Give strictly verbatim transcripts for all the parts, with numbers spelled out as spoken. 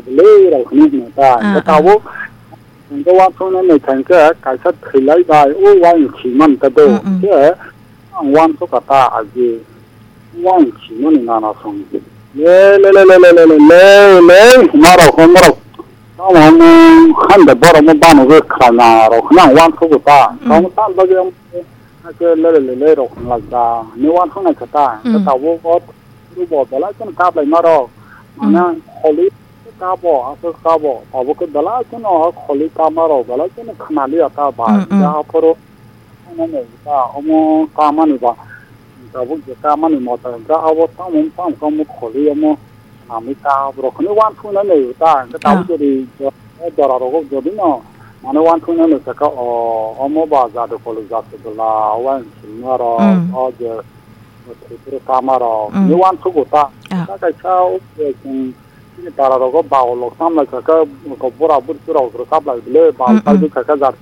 Lerok hinwi hino ta. Ah, hwnkhe ah. Tabuk, hwnkhe uansuknai nai kha hwnkhe kaisa thwilai bai, o uaing si man ta do. Mm, mm. Hwnkhe ang uansukha ta aji. Uaing si mani nana song. Le, le, le, hwnmarok, hwnmarok. Tamo hwnwi hande borok no bano khe khwlaina rok hwnwi ang uansukha ta. Mm. Tamo ta bagwi ang khe le, le, le, le rok hwnlai ta. Hinwi uansuknai kha ta. Mm. Hwnkhe tabuk o Ru bo belai kheno kap lai ma rok. Mane, mm, kholi kabo, aswk kabo. Abo khe belai kheno kholi kap ma rok, belai kheno khna liya ta bai. Mm, mm. Ja aphuru, ano ne ta, omo kap mani ba. Tabuk je kap mani mota, ja abo tamo, tamo, tamo kholi omo khna mi ta. Borok kheno uansuknai nai ta, hwnkhe tabuk, ah, jodi, jo-, jora rogo jodi no, mane uansuknai nai sakha, o, omo ba jadu kholi jatu bwla, uaing sima rok, mm, o je, Tripura kama rok, mm, ni uansukgo ta. Ah. Ta kaisa o, eh, chwng chini para rogo bau lok sam lai kha khe, ko bura buri rok rwchap lai bile, bau, mm, mm, paidi kha khe jat.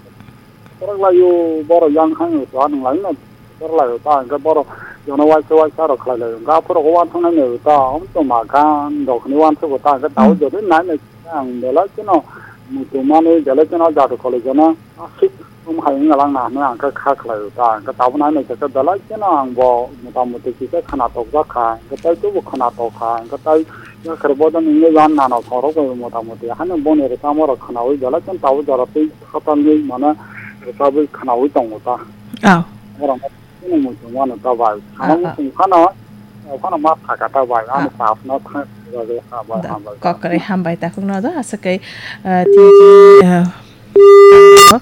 Korak lai o, borok yang khang o, to anung lai no, korak lai o ta, hwnkhe borok jono waisa waisa rok khlai lai o. Hwnkhe aphuru rok uansuknai nai o ta, om to ma gan rok ni uansukgo ta, hwnkhe tao, mm, jodi nai nai ang belai kheno muchungmani, belai kheno jadu college no aswk. Omo hai wngya lang na hinwi ang khe kha khlai o ta, hwnkhe tabuk nai nai khe belai kheno ang bo mota moti kisa khwna tokjak kha, hwnkhe tei tubu khwna tok kha, hwnkhe tei yakhar bodo nini yan nano khorok bai mota moti haino boni rwchapmung rok khwnaui belai kheno tabuk jora tei khatalni mane rwchapwi khwnaui tongo ta. Oh. Borok no muchung mano ta bai. Ah, ano ah. Muchung phano, phano ma thaka ta bai. Ano, ah, tap no thang, hambai, da, hambai. Kok kwrwi hambai takhuk no do, aswk kai, ah, tini, ah,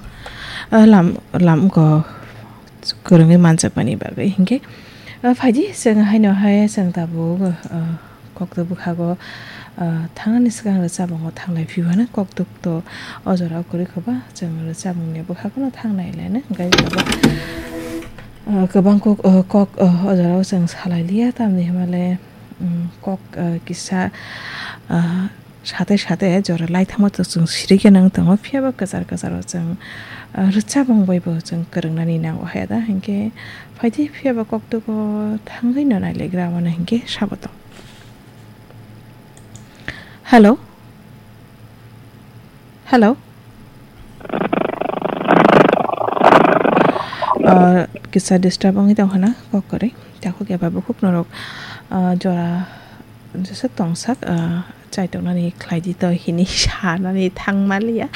Ah, lam, lam go kwrwngwi manjakmani bagwi hinkhe, ah, phaidi chwng haino hai chwng tabuk, ah, kokto bwkhago, ah, thangnani swkang rwchapmungo thanglai phiyano kokto to o jorao kwrwi khoba chwng rwchapmungni bwkhagono thangnai laino hinkhe tabuk, ah, kwbang kok, ah, kok, ah, o jorao chwng salai liya tamni hwnmale, um, kok, ah, kisa, ah, Sate sate jora laithangma to chwng sirikhe nang tongo, phiyaba kwchar kwcharo chwng, ah, rwchapmung bai bo chwng kwrwngnani nango haya da, hinkhe phaidi phiyaba koktugo thangwi no nailagra wano hinkhe sabo tong. Hello? Hello? Ah, kisa disturb wngwi tong khana kok kwrwi. Takhuk eba bukhuk norok, ah, jora Jesa tongsak, ah, chaitoknani khlaidi to hini sanani thangmaliya.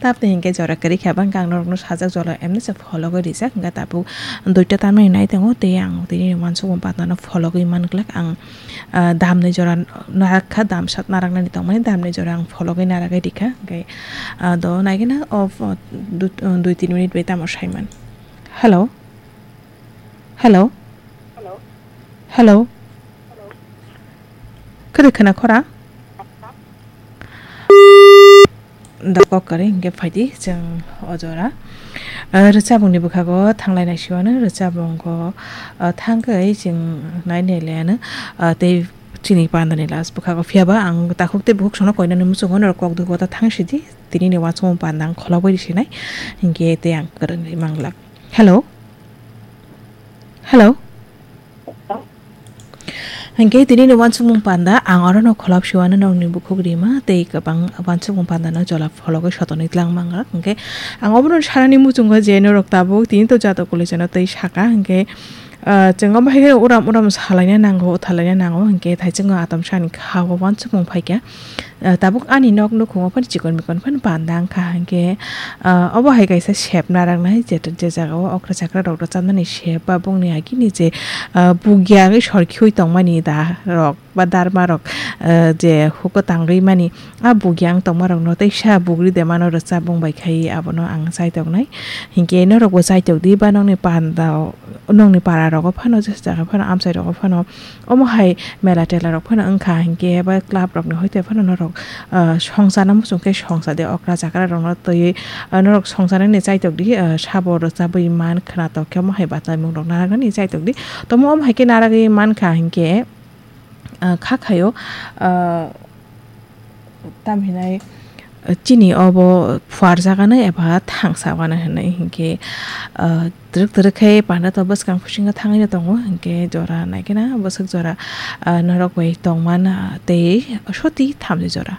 Tamni hinkhe jora kwrwi kha bangkha ang norokno sajak jora emno se phologwi rijak. Hinkhe tabuk duita tamni nai tongo, tei ang tini uansukmung pandano phologwi manglak. Ang, ah, damni jora narak kha, damsat naraknani tongmani damni jora ang phologwi naragwi rikha. Hinkhe, ah, do naigwna o, o, du-, dui tin minute bai tamo saiman. Hello? Hello? Hello? Khede khna khora? Da kok kwrwi hinkhe phaidi chwng o jora. Ah, rwchapmungni bwkhago thanglai naisiwano, rwchapmungo, ah, thangkhe chwng nai nai laiano, ah, tei chini pandani last bwkhago phiyaba ang takhuk tei bukhuk sono koinani muchungo norok kok dugo ta thang sidi, tinini uansukmung panda ang kholobwi sinai hinkhe tei ang kwrwngwi manglak. Hello? Hello? Hinkhe tini ni uansukmung panda ang oro no kholop siwano nokni bukhuk rima tei kwbang uansukmung panda no jora phologwi sotoni tlang manglak. Hinkhe ang obono sanani muchungo je norok tabuk tini to jato kuli jano tei saka hinkhe, ah, chwng omo hai khe uram uram salaina nango, uthalaina nango hinkhe thaichungo atom sani kha o uansukmung phaikha. Ah, tabuk ani nok nukhungo phano chikon mikon phano panda wngkha, hinkhe, ah, obo hai kaisa sep naraknai, je, je jagao okra chakra rok rwchapnani sep ba bongni agini je, ah, bugya wngwi sor khiui tongmani da rok ba darma rok, ah, je huko tangwi mani, ah, bugya wng tongma rokno teisa bugri de mano rwchap bung bai khai abono ang chaitoknai. Hinkhe norokbo chaitokdi ba nokni pandao, nokni para rogo phano, je jaga phano, amchai rogo phano, Omo hai mela tela rok phano wngkha hinkhe ba club rok ni hoite phano norok, ah, songchana muchung khe songcha di okra chakra rok no twiwi, ah, norok songchana ni chaitok di, ah, sabo rwchabwi man khwnatok khe omo hai bachaimung rok narwknani chaitok di. Tomo omo hai khe narwgwi mankha hinkhe, ah, kha khaio, ah, Tam hinai, chini obo phuarjakgano eba thangsa wano hinwi hinkhe, ah, twrwk twrwk khe panda to bwskang bisingo thangwi no tongo, hinkhe jora naikhe na bwswk jora, ah, norok bai tongmana tei soti thamni jora.